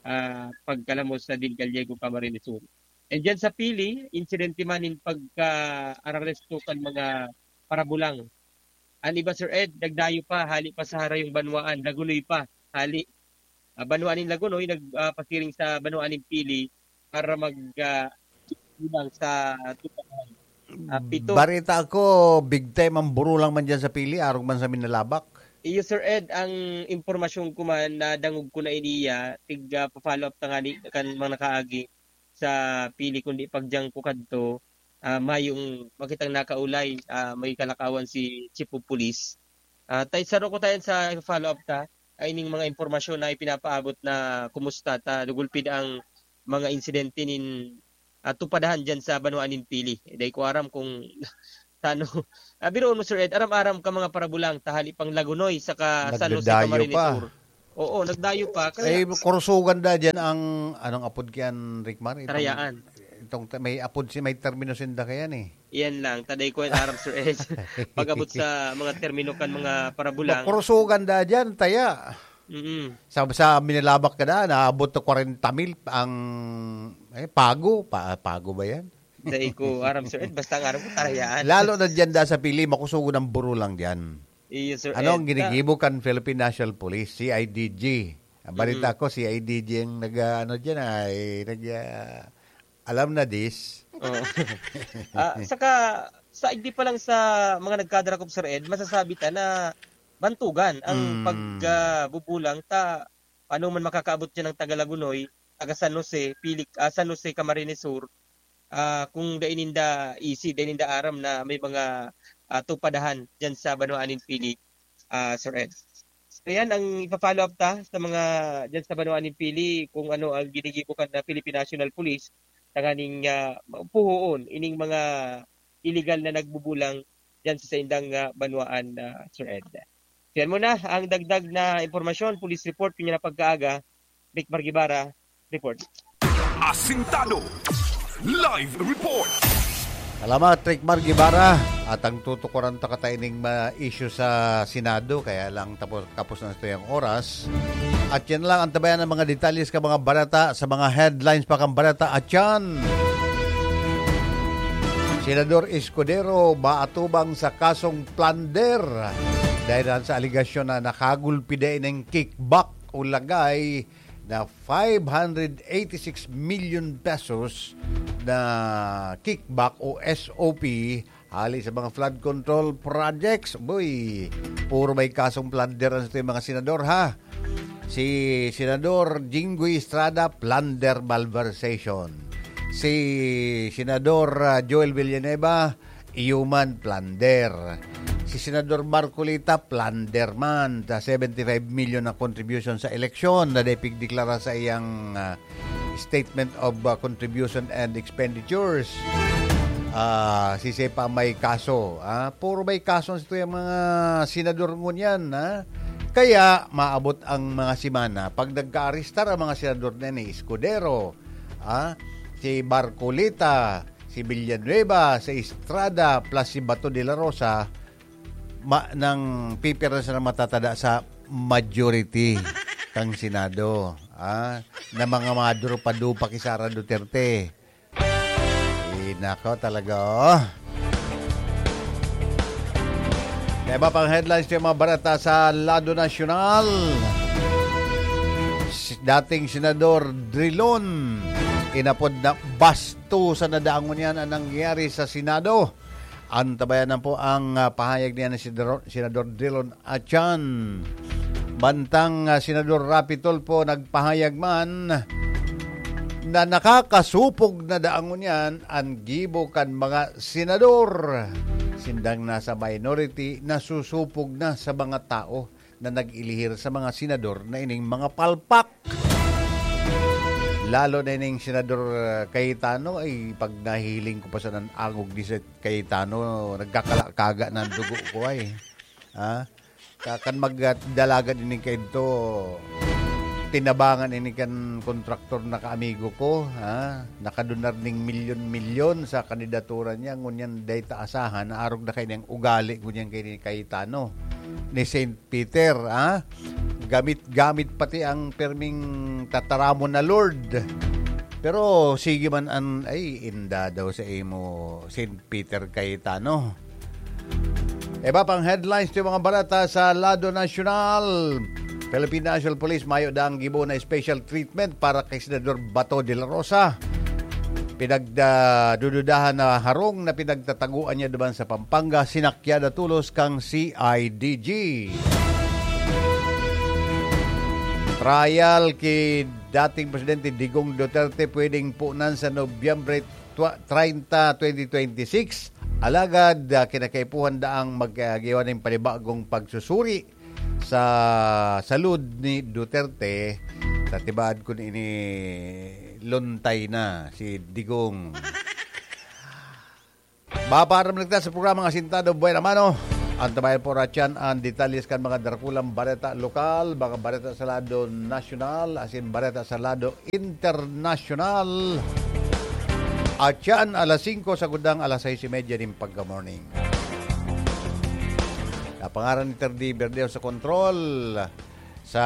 ah, pagkalamos sa Del Gallego, Camarines Sur. And diyan sa Pili, insidente man nin pagka-araresto kan mga parabulang. An iba, Sir Ed, nagdayo pa, hali pa sa harayong banwaan, naguloy pa, hali. ah, banwaan nin Lagonoy, nag, ah, pasiring sa banwaan nin Pili para mag, ah, bilang sa tupahan. Ah, pito. Barita ko, big time ang burulang man dyan sa Pili, arog man sa Minalabak. Iyo, Sir Ed, ang impormasyon ko man, nadangog ko na iniya, tig, ah, pa-follow up ta ngani kan mga nakaagi sa Pili, kundi pag diyan ko kadto, ah, mayong makitang nakaulay, ah, may kalakawan si Chief of Police. Ah, tay, saro ko tayo sa follow up ta, ay ning mga impormasyon na ipinapaabot na kumusta ta, nagulpid ang mga insidente nin, ah, tupadahan diyan sa banwaan nin Pili. Dai ko aram kung tano. Ah, biruon mo, Sir Ed, aram-aram ka mga parabulang, tahali pang Lagonoy, saka San Jose, Nagdadayo pa. Camarines Sur. Oo, nagdayo pa. Kaya Ay, kurusugan da dyan ang, anong apod kiyan, Rick Mar? Itong, Tarayaan. Itong ta-, may apod si, may termino sinda kayan eh. Iyan lang, taday ko yan aram, Sir Ed. Pag-abot sa mga termino kan mga parabulang. Kurusugan da dyan, taya. Mm-mm. Sa, sa Minalabak ka na, naabot na kwarenta mil ang, eh, pago. Pa, pago ba yan? Dai ko aram, Sir Ed. Basta ang aram ko, Tarayaan. Lalo na dyan da sa Pili, makusugon ang burulang dyan. Iyo, Sir Ano ang Ed. ginigibo kan Philippine National Police, C I D G? Ang balita Mm. ko, C I D G ang nag, ah, ano dyan, ay, nag, ah, alam na this. Oo. Ah, saka, saigdi pa lang sa mga nagkadarakop, Sir Ed, masasabi ta na bantugan ang Mm. pag, ah, bubulang ta, ano man makakaabot dyan ng taga Lagunoy, taga San Jose, Pili, ah, San Jose, Camarines Sur, ah, kung dai ninda isi, dai ninda aram na may mga, ah, tupadahan dyan sa banwaan nin Pili, ah, Sir Ed. So, yan ang ipa-follow up ta sa mga dyan sa banwaan nin Pili, kung ano ang ginigibo kan na Philippine National Police, tanganing, ah, puhoon ining mga illegal na nagbubulang dyan sa saindang, ah, banwaan, ah, Sir Ed. So, yan muna ang dagdag na impormasyon, police report, kanya na pagkaaga, Rick Margibara, report. Asintado. Live report. Salamat, Rick Mar Guevara. At ang tutukuran ta kataining mga issue sa Senado, kaya lang tapos, tapos na ito yung oras. At yan lang ang tabayan ng mga detalye sa mga balita, sa mga headlines pa kang balita. At yan, Senador Escudero maatubang sa kasong plunder dahil sa aligasyon na nakagulpi dai ng kickback o lagay na five hundred eighty-six million pesos na kickback o S O P hali sa mga flood control projects. Boy, puro may kasong plunder ang sa mga senador, ha? Si Senador Jinggoy Estrada, plunder malversation. Si Senador, ah, Joel Villanueva, human plunder. Si Senador Marcoleta, plunder man. Sa seventy-five million na contribution sa eleksyon na dai pigdeklara sa iyang, ah, Statement of, ah, Contribution and Expenditures. Ah, sisay pa may kaso, ah? Puro may kaso ito yung mga senador ngunyan, ah? Kaya maabot ang mga semana pag nagka-arestar ang mga senador na ni Escudero, ah, si Marcoleta, si Villanueva, si Estrada, plus si Bato de la Rosa, ma-, nang pipirma sa matatada sa majority kang Senado, ah, na mga maduro pa dupa ki Sara Duterte. Eh, nako, talaga, oh. May iba pang headlines yung mga balita sa lado nasyonal. Si dating Senador Drilon, inapod na bastusan na dangon yan ang nangyari sa Senado. Antabayanan po ang, ah, pahayag niya ni Senador, Senador Drilon Achan. Bantang, ah, Senador Raffy Tulfo nagpahayag man na nakakasupog na dangon yan an gibo kan mga senador. Sindang nasa minority, nasusupog na sa mga tao na nag-ilihir sa mga senador na ining mga palpak. Lalo na ining Senador, ah, Cayetano, ay pag nahihiling ko pa sa nan-, angog ni Sir Cayetano, nagkakalakaga na ang dugo ko ay. Ha? Ka-, kan magdalagan ini kaidto, tinabangan ini kan kontraktor na kaamigo ko, ha? Nakadonar ning milyon-milyon sa kandidatura niya, ngunyan dai ta asahan, naarog na kaini ang ugali, ngunyan kay ni Cayetano, ni Saint Peter, ha? Gamit-gamit pati ang perming tataramon na Lord. Pero sige man an, ay, inda daw sa imo, Saint Peter Cayetano. Iba pang headlines ti mga balita sa lado nasyonal. Philippine National Police mayo daang gibo na special treatment para kay Senador Bato de la Rosa. Pinagdududahan na harong na pinagtataguan niya duman sa Pampanga, sinakyan na tolos kan C I D G. Trial ki dating Presidente Digong Duterte pwedeng punan sa Nobyembre twa-, treinta, twenty twenty-six. Alagad, ah, kinakaipuhan daang mag-, ah, giwa nin panibagong pagsusuri sa salud ni Duterte. Sa tibaad kun ini, luntay na si Digong. Mapaparamdam kita sa programang Asintado Buena Mano. Antabayan po, Rachan, ang detalles kan mga darakulang bareta lokal, mga bareta sa lado nasyonal, asin bareta sa lado internasyonal. At yan, alas singko, sagkod na alas sais y media nin pagka-morning. Napangaran ni Terdy Verdeo sa kontrol. Sa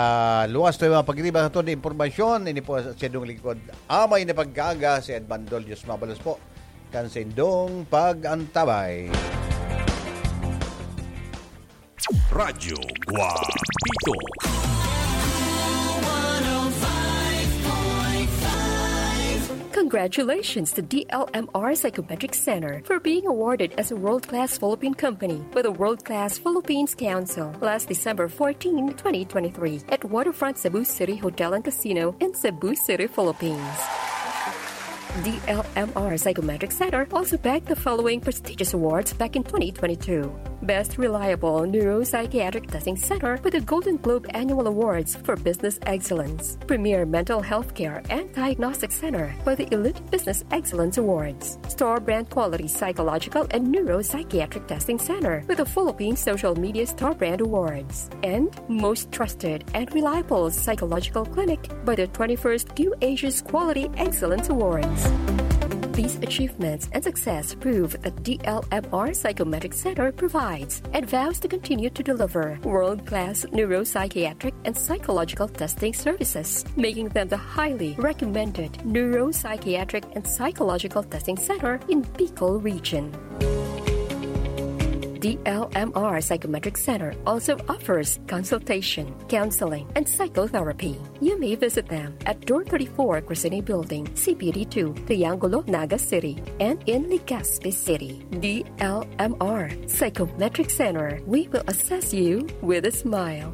luwas to yung mga pagriba sa tunay impormasyon, ini po sa siyadong lingkod. Amay na pagkaaga, si Edmando Dios mabalos po. Kan sindong pag-antabay. Radyo Guapito. Congratulations to D L M R Psychometric Center for being awarded as a world-class Philippine company with a world-class Philippines Council last December fourteen, twenty twenty-three at Waterfront Cebu City Hotel and Casino in Cebu City, Philippines. D L M R Psychometric Center also bagged the following prestigious awards back in twenty twenty-two. Best Reliable Neuropsychiatric Testing Center with the Golden Globe Annual Awards for Business Excellence. Premier Mental Health Care and Diagnostic Center with the Elite Business Excellence Awards. Store Brand Quality Psychological and Neuropsychiatric Testing Center with the Philippine Social Media Store Brand Awards. And most trusted and reliable psychological clinic by the twenty-first Q Asia's Quality Excellence Awards. These achievements and success prove that D L M R Psychometric Center provides and vows to continue to deliver world-class neuropsychiatric and psychological testing services, making them the highly recommended neuropsychiatric and psychological testing center in Bicol Region. D L M R Psychometric Center also offers consultation, counseling, and psychotherapy. You may visit them at Door thirty-four, Crescene Building, C P D two, Triangulo, Naga City, and in Legazpi City. D L M R Psychometric Center, we will assess you with a smile.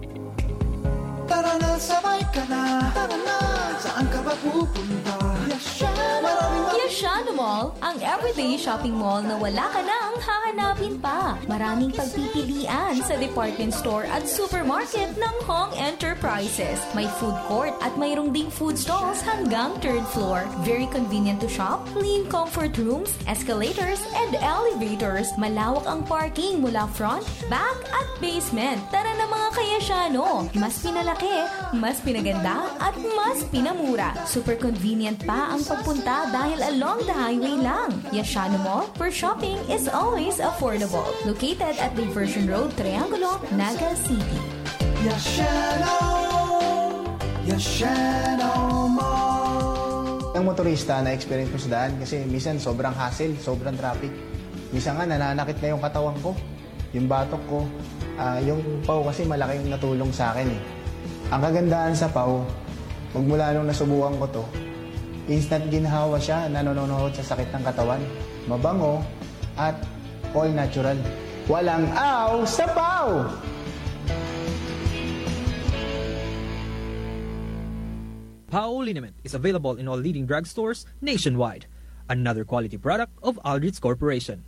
Tara na, sabay ka na. Tara na, saan ka ba pupunta? Yashano Mall. Yashano Mall, ang everyday shopping mall na wala ka nang hahanapin pa. Maraming pagpipilian sa department store at supermarket ng Hong Enterprises. May food court at mayroong ding food stalls hanggang third floor. Very convenient to shop, clean comfort rooms, escalators, and elevators. Malawak ang parking mula front, back, at basement. Tara na, mga ka-Yashano! Mas pinalaki, mas pinaganda, at mas pinamura. Super convenient pa ang pagpunta dahil along the highway lang. Yashano Mall, where shopping is always affordable. Located at Diversion Road, Triangulo, Naga City. Yashano! Yashano Mall! Ang motorista, na-experience ko sa daan kasi minsan sobrang hassle, sobrang traffic. Minsan nga, nananakit na yung katawan ko, yung batok ko. Ah, yung paw kasi malaking natulong sa akin eh. Ang kagandahan sa paw, magmula nung nasubukan ko to, instant ginhawa siya, nanononohot sa sakit ng katawan. Mabango at all natural. Walang aw sa paw! Pao liniment is available in all leading drugstores nationwide. Another quality product of Aldrich Corporation.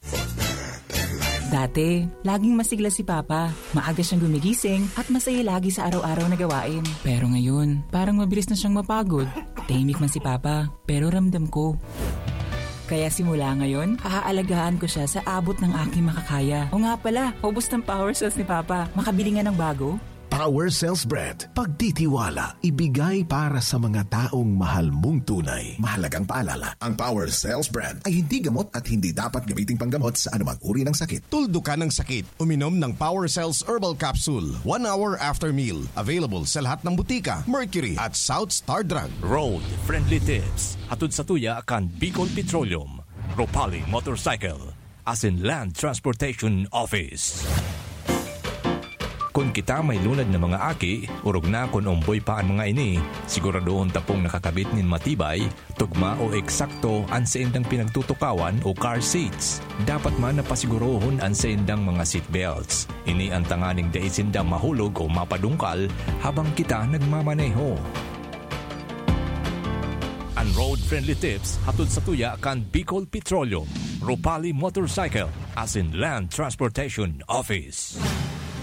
Dati, laging masigla si Papa. Maaga siyang gumigising at masaya lagi sa araw-araw na gawain. Pero ngayon, parang mabilis na siyang mapagod. Tahimik man si Papa, pero ramdam ko. Kaya simula ngayon, aalagaan ko siya sa abot ng aking makakaya. O nga pala, ubos ng power cells ni Papa. Makabili nga ng bago. Power Cells Brand. Pagtitiwala, ibigay para sa mga taong mahal mong tunay. Mahalagang paalala, ang Power Cells Brand ay hindi gamot at hindi dapat gamiting panggamot sa anumang uri ng sakit. Tuldukan ang sakit. Uminom ng Power Cells Herbal Capsule one hour after meal. Available sa lahat ng butika, Mercury at South Star Drug. Road Friendly Tips. Hatod sa tuya kan Bicol Petroleum, Ropali Motorcycle, asin Land Transportation Office. Kun kita may lunad na mga aki, orog na kun omboy pa an mga ini, siguradohon ta pong nakakabit nin matibay, tugma o eksakto an saindang pinagtutukawan o car seats. Dapat man na pasigurohon an saindang mga seatbelts. Ini an tanganing dai sinda mahulog o mapadungkal habang kita nagmamaneho. An road-friendly tips hatod sa tuya kan Bicol Petroleum, Ropali Motorcycle, asin Land Transportation Office.